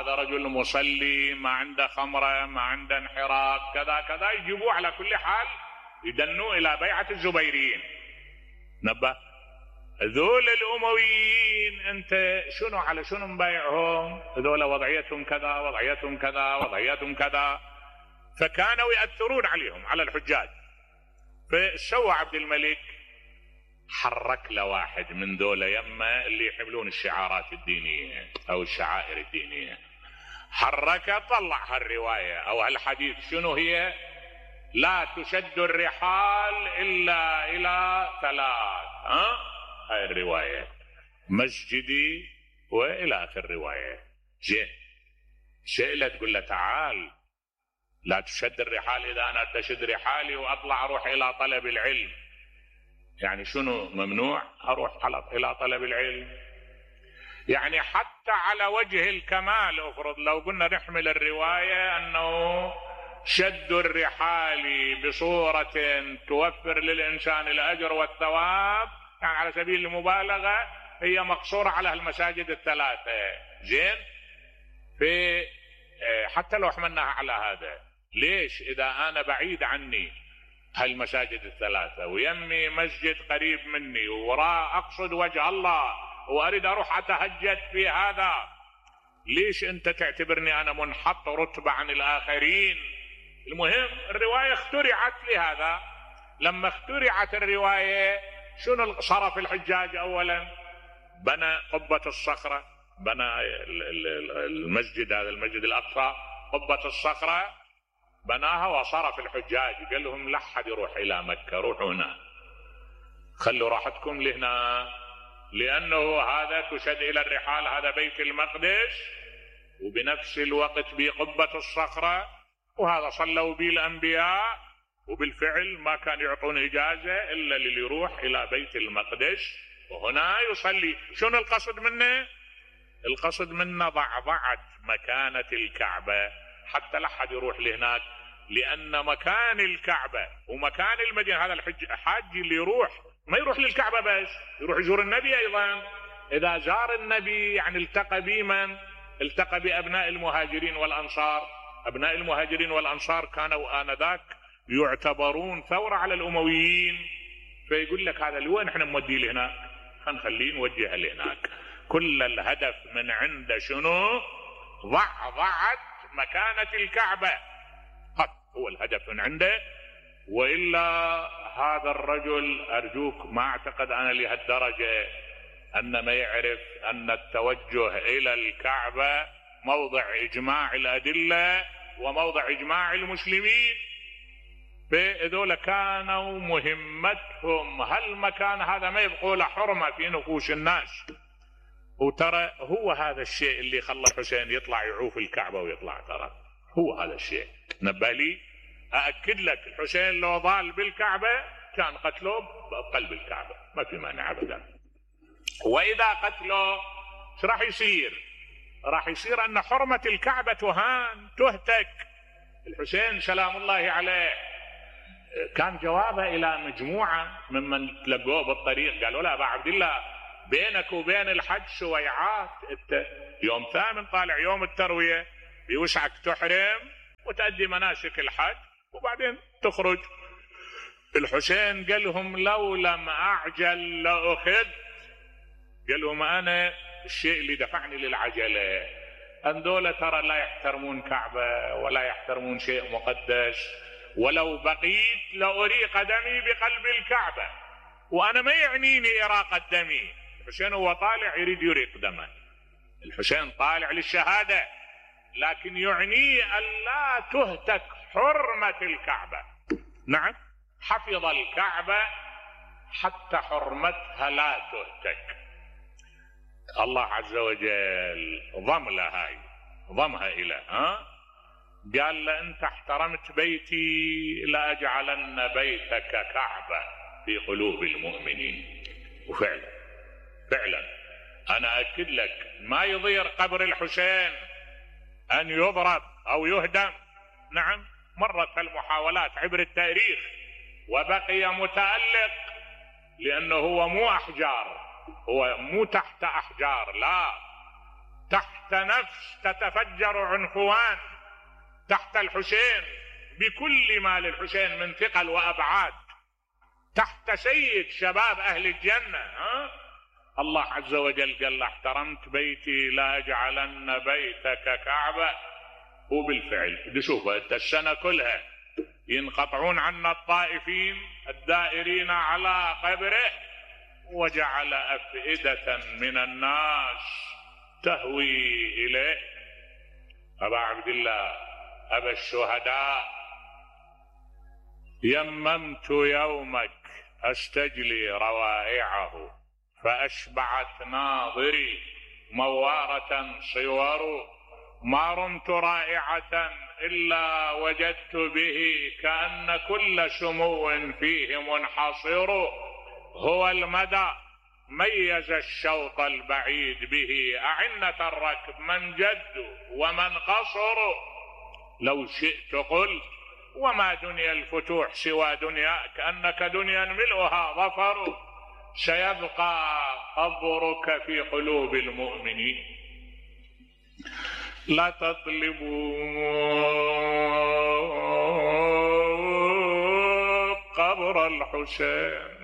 هذا رجل مصلي، ما عنده خمرة، ما عنده انحراف، كذا كذا، يجيبوه على كل حال يدنوه إلى بيعة الزبيريين. نبه ذول الأمويين أنت شنو على شنو مبايعهم؟ ذول وضعيتهم كذا، وضعيتهم كذا، وضعيتهم كذا، فكانوا يأثرون عليهم على الحجاج. فسوى عبد الملك حرك له واحد من ذولا يمه اللي يحملون الشعارات الدينية أو الشعائر الدينية، حركه طلع هالرواية أو هالحديث. شنو هي؟ لا تشد الرحال إلا إلى 3. هاي الرواية مسجدي وإلى آخر الرواية. شئلة تقول له تعال لا تشد الرحال، إذا أنا تشد رحالي وأطلع أروح إلى طلب العلم، يعني شنو ممنوع أروح إلى طلب العلم؟ يعني حتى على وجه الكمال افرض لو قلنا نحمل الرواية أنه شد الرحال بصورة توفر للإنسان الأجر والثواب، يعني على سبيل المبالغة هي مقصورة على المساجد 3. زين، في حتى لو حملناها على هذا، ليش إذا أنا بعيد عني هالمساجد 3 ويمي مسجد قريب مني وراء أقصد وجه الله وأريد أروح أتهجد في هذا، ليش أنت تعتبرني أنا منحط رتبة عن الآخرين؟ المهم الرواية اخترعت لهذا. لما اخترعت الرواية شنو صرف الحجاج؟ أولا بنى قبة الصخرة، بنى المسجد، هذا المسجد الأقصى، قبة الصخرة بناها وصرف الحجاج، قال لهم لا أحد يروح إلى مكة، روحوا هنا، خلوا راحتكم لهنا، لأنه هذا تشد إلى الرحال، هذا بيت المقدس، وبنفس الوقت بقبة الصخرة، وهذا صلوا به الأنبياء، وبالفعل ما كان يعطون إجازة إلا للي يروح إلى بيت المقدس وهنا يصلي. شنو القصد منه؟ القصد منه ضعضعة مكانة الكعبة حتى لا أحد يروح لهناك، لأن مكان الكعبة ومكان المدينة، هذا الحاج اللي يروح ما يروح للكعبة بس، يروح يزور النبي أيضا. إذا زار النبي يعني التقى بمن؟ التقى بأبناء المهاجرين والأنصار. أبناء المهاجرين والأنصار كانوا آنذاك يعتبرون ثورة على الأمويين، فيقول لك هذا لوين احنا نوديه لهناك، خليه نوجهه لهناك. كل الهدف من عنده شنو؟ ضعضعة مكانة الكعبة، هو الهدف من عنده. وإلا هذا الرجل أرجوك ما أعتقد أنا لهالدرجة أن ما يعرف أن التوجه إلى الكعبة موضع إجماع الأدلة وموضع إجماع المسلمين. فإذول كانوا مهمتهم هالمكان هذا ما يبقوا له حرمة في نفوس الناس. وترى هو هذا الشيء اللي خلى الحسين يطلع يعوف الكعبة ويطلع، ترى هو هذا الشيء. نبالي أأكد لك الحسين لو ضال بالكعبة كان قتله بقلب الكعبة، ما في مانع أبدا. وإذا قتله ايش راح يصير؟ راح يصير أن حرمة الكعبة تهان تهتك. الحسين سلام الله عليه كان جوابه إلى مجموعة ممن تلقوه بالطريق، قالوا له أبا عبد الله بينك وبين الحج سويعات، انت يوم 8 طالع يوم التروية بيوسعك تحرم وتأدي مناسك الحج وبعدين تخرج. الحسين قال لهم لو لم أعجل لأخذ، قال لهم أنا الشيء اللي دفعني للعجلة أن دولة ترى لا يحترمون كعبة ولا يحترمون شيء مقدس، ولو بقيت لأريق دمي بقلب الكعبة، وأنا ما يعنيني إراقة دمي. الحسين هو طالع يريد يريق دمه، الحسين طالع للشهادة، لكن يعنيه أن لا تهتك حرمة الكعبة. نعم، حفظ الكعبة حتى حرمتها لا تهتك. الله عز وجل ضمها إلى قال له أنت احترمت بيتي لأجعلن بيتك كعبة في قلوب المؤمنين. وفعلا أنا أكد لك ما يضير قبر الحسين أن يضرب أو يهدم. نعم، مرت المحاولات عبر التاريخ وبقي متألق، لأنه هو مو أحجار، هو مو تحت أحجار، لا، تحت نفس تتفجر عنفوان تحت الحسين بكل ما للحسين من ثقل وأبعاد، تحت سيد شباب أهل الجنة. الله عز وجل قال له احترمت بيتي لا أجعلن بيتك كعبة، وبالفعل شوف السنة كلها ينقطعون عنا الطائفين الدائرين على قبره، وجعل أفئدة من الناس تهوي إليه. أبا عبد الله أبا الشهداء، يممت يومك أستجلي روائعه، فأشبعت ناظري موارة صور، ما رمت رائعة إلا وجدت به كأن كل سمو فيه منحصر، هو المدى ميز الشوط البعيد به، أعنة الركب من جد ومن قصر. لو شئت قلت وما دنيا الفتوح سوى دنياك، أنك دنيا ملؤها ظفر، سيبقى قبرك في قلوب المؤمنين. لا تطلبوا قبر الحسين